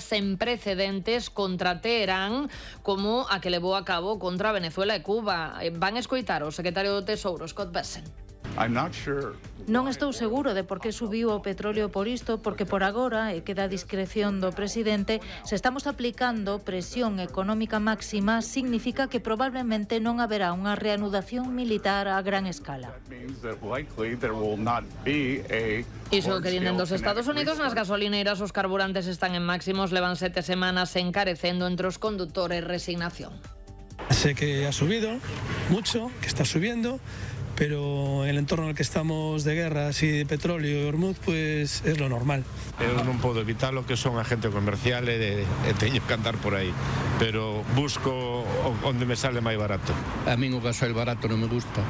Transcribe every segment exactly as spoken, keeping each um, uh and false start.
sen precedentes contra Teherán como a que levou a cabo contra Venezuela e Cuba. Van escoitar o secretario do Tesouro, Scott Bessent. Non estou seguro de por que subiu o petróleo por isto, porque por agora, e queda a discreción do presidente, se estamos aplicando presión económica máxima, significa que probablemente non haberá unha reanudación militar a gran escala. Iso que vienen dos Estados Unidos, nas gasolineiras os carburantes están en máximos, levan sete semanas encarecendo entre os condutores. Resignación. Sé que ha subido mucho, que está subiendo, pero en el entorno en el que estamos de guerra, así de petróleo y Hormuz, pues es lo normal. Eu non podo evitar lo que son agente comercial e, e teño que andar por aí, pero busco onde me sale máis barato. A min o gasoil barato non me gusta.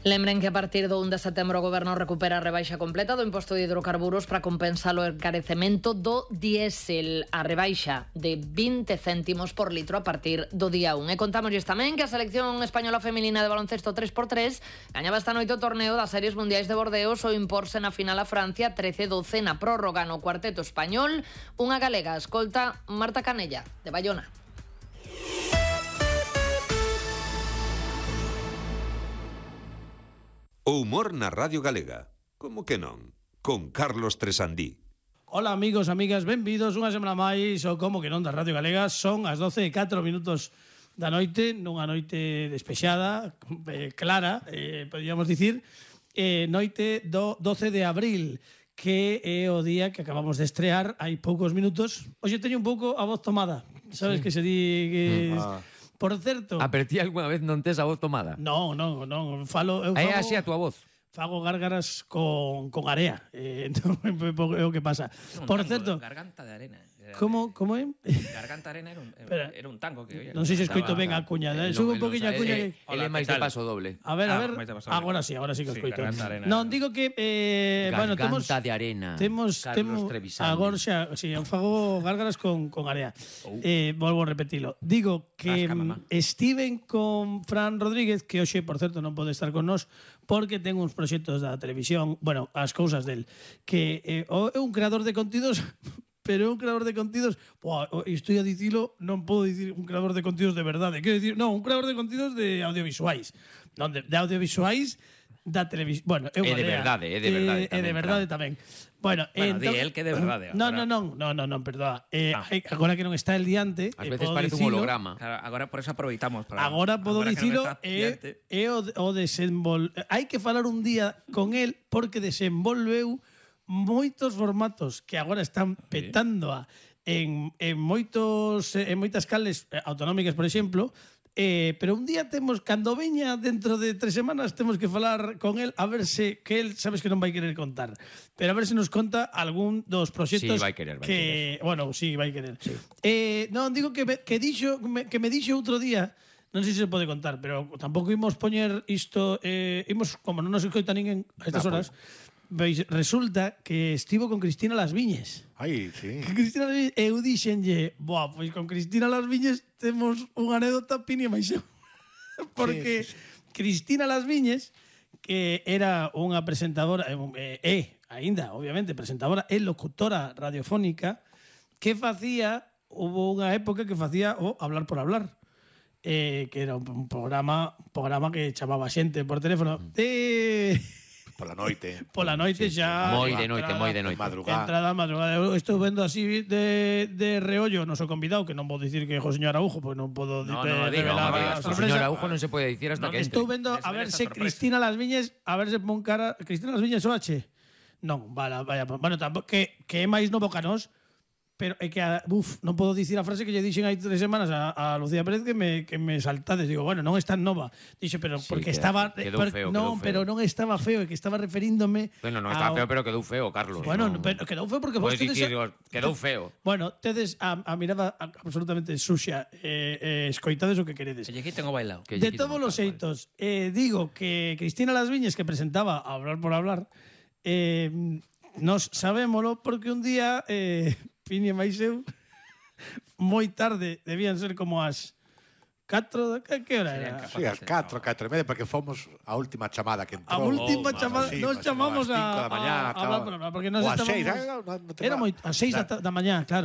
Lembren que a partir do un de setembro o Goberno recupera a rebaixa completa do imposto de hidrocarburos para compensar o encarecemento do diésel, a rebaixa de vinte céntimos por litro a partir do día un. E contámoslles tamén que a selección española feminina de baloncesto tres por tres gañaba esta noite o torneo das Series Mundiais de Bordeos ao imporse na final a Francia trece doce na prórroga no cuarteto español. Unha galega, escolta Marta Canella, de Bayona. O humor na Radio Galega. Como que non? Con Carlos Tresandí. Hola amigos, amigas, benvidos unha semana máis o Como que non da Radio Galega. Son as doce e catro minutos da noite, nunha noite despexada, eh, clara, eh, podríamos dicir, eh, noite do doce de abril, que é o día que acabamos de estrear hai poucos minutos. Hoxe teño un pouco a voz tomada, sabes sí. que se di... Que... Ah. Por certo... A per ti alguna vez non tes a voz tomada? Non, non, non. Falo, eu fago, é así a túa voz? Fago gárgaras con, con area. Eh, entón, é o que pasa. Un Por tango, certo... Garganta de arena. Como, como é? Garganta de arena era un, era un tango que oía. Non sei se escoito ben a cuña. Eh, Sube un poquinho a cuña. Que... Ele é máis de paso doble. A ver, a ver. Ah, agora sí, agora sí que escoito. Sí, non, digo que... Eh, Garganta bueno, temos, de arena. Temos, temos, agora xa, sí, eu fago gárgaras con, con area. Oh. Eh, volvo a repetilo. Digo que estiven con Fran Rodríguez, que hoxe, por certo, non pode estar con nós, porque ten uns proxectos da televisión, bueno, as cousas del, que eh, é un creador de contidos... pero un creador de contidos, buah, estou a dicilo, non podo dicir un creador de contidos de verdade, quero dicir, non, un creador de contidos de audiovisuais, non, de, de audiovisuais da televisión, bueno, é de verdade, é de verdade, é de verdade tamén. Bueno, bueno entón, di el que de verdade. Non, non, non, non, non, non, perdoa. Eh, ah. Agora que non está el diante, ás veces parece un holograma. Claro, agora por eso aproveitamos para. Agora podo dicilo, é no é o, o desenvol. Hai que falar un día con el porque desenvolveu moitos formatos que agora están petando a, en, en moitos en moitas cales autonómicas, por exemplo, eh, pero un día temos, cando veña dentro de tres semanas, temos que falar con el a ver se, que el sabes que non vai querer contar, pero a ver se nos conta algún dos proxectos sí, vai querer, vai que, querer. bueno, sí, vai querer. Sí. Eh, non, digo que, me, que, dixo, me, que me dixo outro día, non sei se se pode contar, pero tampouco imos poñer isto, eh, imos, como non nos escoita ninguén a estas horas, veis, resulta que estivo con Cristina Las Viñes. Ai, sí. Que Cristina Las Viñes, eu dixenlle, boa, pois con Cristina Las Viñes temos unha anécdota Pini e Maixeu. Porque sí, sí, sí. Cristina Las Viñes, que era unha presentadora, é, eh, aínda, obviamente, presentadora e locutora radiofónica, que facía, hubo unha época que facía o Hablar por Hablar. Eh, que era un programa, un programa que chamaba xente por teléfono. Eh... Pola noite. Pola noite sí, xa... Moi de noite, moi de noite. Madrugada. Entrada, madrugada. Eu estou vendo así de, de reollo o noso convidado, que non vou dicir que é o señor Araujo, pois non podo no, de, no, no, revelar no, a sorpresa. O señor Araujo non se pode dicir hasta no, que entre. Estou vendo a ver se Cristina Las Viñes, a ver se pon cara... Cristina Las Viñes o H? Non, vale, vaya, bueno, tampouco, que, que é máis novo que nós, pero é que, a, uf, non podo dicir a frase que lle dixen hai tres semanas a, a Lucía Pérez que me, que me saltades. Digo, bueno, non é tan nova. Dixo, pero sí, porque queda, estaba... Quedou per, feo, non, quedou feo. pero non estaba feo, é que estaba referíndome... Bueno, non estaba a, feo, pero quedou feo, Carlos. Bueno, no, pero quedou feo porque vos tedes... Dicir, quedou feo. Bueno, tedes a, a mirada absolutamente sucia. Eh, eh, escoitades o que queredes. Que lle quiten o bailao. De todos os xeitos, eh, digo que Cristina Las Viñes, que presentaba Hablar por Hablar, eh, nos sabémolo porque un día eh, Pini e Maixeu moi tarde, debían ser como as catro, que, que hora era? Sí, as catro, catro e media, porque fomos a última chamada que entrou. A última Oh, chamada, sí, nos chamamos a, da mañá, a, a, a, porque nos ou a estábamos... seis, eh, no, no era moi, a seis da, da mañá, claro.